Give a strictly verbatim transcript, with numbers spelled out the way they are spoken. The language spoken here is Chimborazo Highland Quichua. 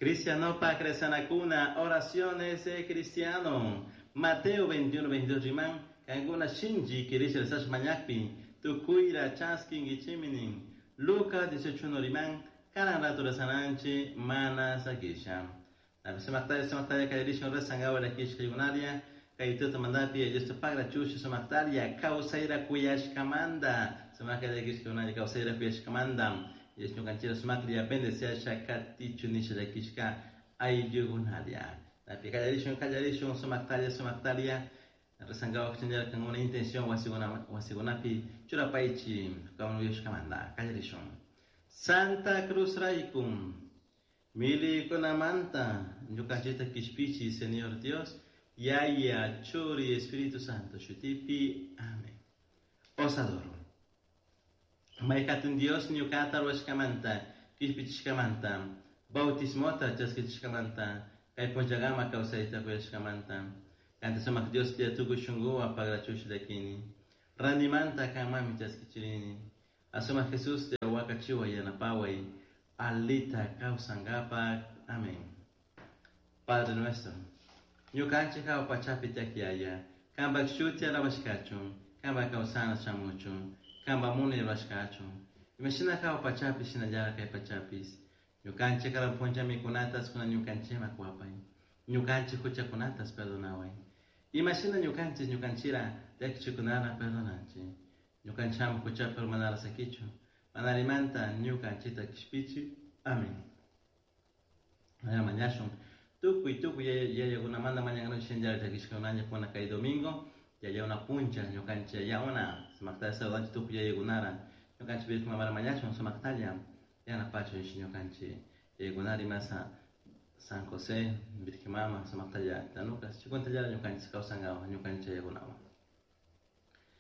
Cristianopak rezanakuna, oraciones de cristiano. Mateo veintiuno, veintidós riman, kankuna shinchi kirisha rezash mañakpi, tukuyra chaskinkichimi nin. Lucas dieciocho uno riman, karan rato rezananchi mana sakisha. Sumaktaya, sumaktaya, kallarishun rezangawa lakishka yunaria, kay tuta mandapi, Dios te pagra chushi sumaktaria, kawsayra kuyashkamanda. Sumaktaria lakishka yunaria, kawsayra kuyashkamanda. Dios ñukanchira sumakria bendeciasha katichu nisha lakishka ayllugunaria. Napi kallarishun, kallarishun, sumaktaria, sumaktaria. Rezangawa kuchanjara con una intención wasiguna, wasigunapi churapaichi kawsayra kallarishun. Santa Cruz Raikum, mili kunamanta, ñukanchita kishpichi, Señor Dios, Yaya, Churi, Espíritu Santo, Shutipi, amén. Os adoro. Maykatun Dios ñukata ruwashkamanta, kishpichishkamanta, bautismota chaskichishkamanta, kay punllagama kawsayta kuyashkamanta, kanta sumak Dios tia tukuy shunkuwan pagrachush llakini, randimanta kanmanmi chaskichirini, asumak Jesús tia wakachiway yanapaway, alita kawsankapak, amén. Padre nuestro, ñukanchik hawa pachapi tiyak Yaya, kanpak shuti alabashkachun, kanpak kawsana shamuchun, kanpak munay rurashkachun, imashina hawa pachapi shinallara kay pachapis, ñukanchik karan punlla mikunatas kuna ñukanchikman kuwapay, ñukanchik huchakunatas perdonaway, imashina ñukanchik ñukanchira llakichikunara perdonanchik, ñukanchikman huchapi urmanara sakichun, manarimanta ñukanchikta kishpichi, amén. Mañashun, tukuy tukuy yayakunamanta mañankanuchik shinallara llakishkakunaña kuna kay domingo, yaya una puncha ñukanchik yaya una sumaktalla saludanchik tukuy yayakunara, ñukanchik Virgen Mamara mañashun sumaktalla yanapachun ñukanchik yayakunara imasa San José, Virgen Mama, sumaktalla tanukas, chikuntalla ñukanchik kawsankawa ñukanchik yayakunawan.